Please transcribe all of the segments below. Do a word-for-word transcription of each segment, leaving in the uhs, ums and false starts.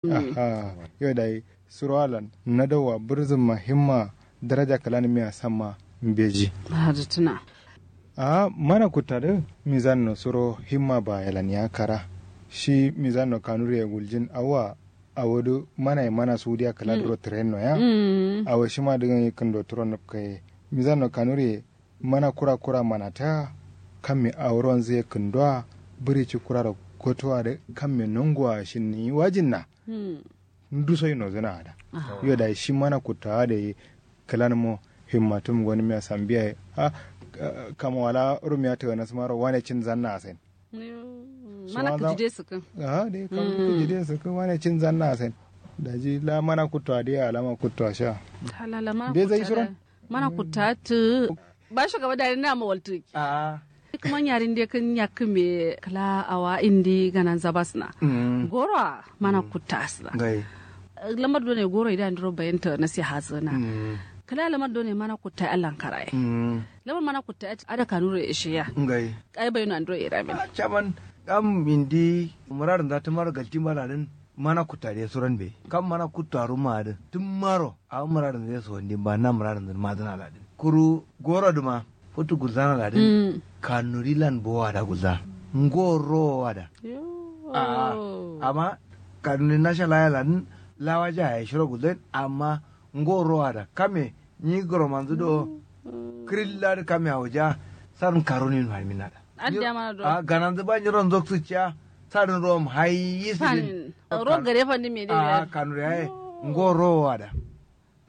Aha. Yo dayi suro alan nadau wa burzum ma himma daraja kǝlanǝmiya samma mbeji. Ahh mana kutta dǝ mizanno suro himma bayelan ya kara shi mizanno kanuriye guljin awowa. Awo dǝ mana ye mana sudiya kǝla duro tǝrenno ya. Awo shima dǝ kǝndo turo nǝpkaye mizanno kanuriye. Mana kura kura manata kamme awo ronzǝ ye kǝndowa bǝri ci kuraro kotowa dǝ kamme nongowa shinniyi wajinna. Nduso yi nozǝna ada. Yo dayi shi mana kuttawa dai kǝlanmo himmatum gonǝmiya sambiya ye. Kama wala rumiya tǝganasǝmaro wane cinzanna asen. Mana kǝjide sǝkkǝn. Aha dai kam kǝjide sǝkkǝn wane cinzanna asen. Daji la mana kuttowa dai alama kuttowa sha. Mbe zai suron. Mana kutta tǝ. Ba shugaba dai nama waltǝ. Kǝman yarin dai kǝn yakkǝme kǝla awa indi gananza basna. Gorowa mana kutta asna. Lamar done goro ida andiro bayanta nasi hazana. Kǝla lamar done mana kutta allan karaye. Lamar mana kutta ada kanuro ishiya. Ai bayino andiro iramin. Chaman kam indi muradin za tǝmaro galtin baladin. Mana kutta dai suran be kam mana kutta ruma adǝ tǝmmaro. Awo muradin zai so wandin ba na muradin zai mazǝna ladin kuru goro dǝma futu gulzana ladin. Kanuri lan bowa da gulza ngoro wada. A'a amma kanuri nasha laya ladin lawaja yayi shiro gulzain amma ngoro wada kame nyi goro manzǝ do. Kǝrilla dǝ kame awoja sarǝn karunin fanimin nada. Addiya mana do. A'a gananzǝ ba nyiro nzoksǝ ciya. Sadǝn rom hayi sidin. Rom gare fandin me dai. A'a kanuri yayi ngoro wada.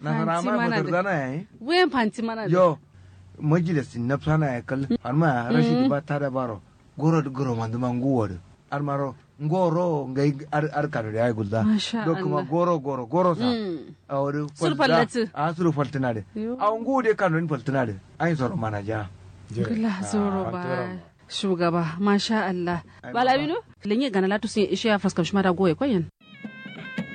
Nasara ma fatarzana yayi. Wuyen fanti mana dǝ. Yo majilis din nafsana yayi kal. Fanma ya rashidi ba tada baro. Goro dǝ goro manduma nguwo dǝ. Adǝ maro ngoro ngai. Adǝ kano dǝ yayi gulza. Do kǝma goro goro goro sa. Awo dǝ suru fallatǝ. Awo nguwo dǝ kano dǝ faltǝna dǝ. Ayin soro mana ja. Gla zoro ba. Shugaba masha allah. Bala wino. Lenye gana latu sun ishe ya faskam shima da goye koyen.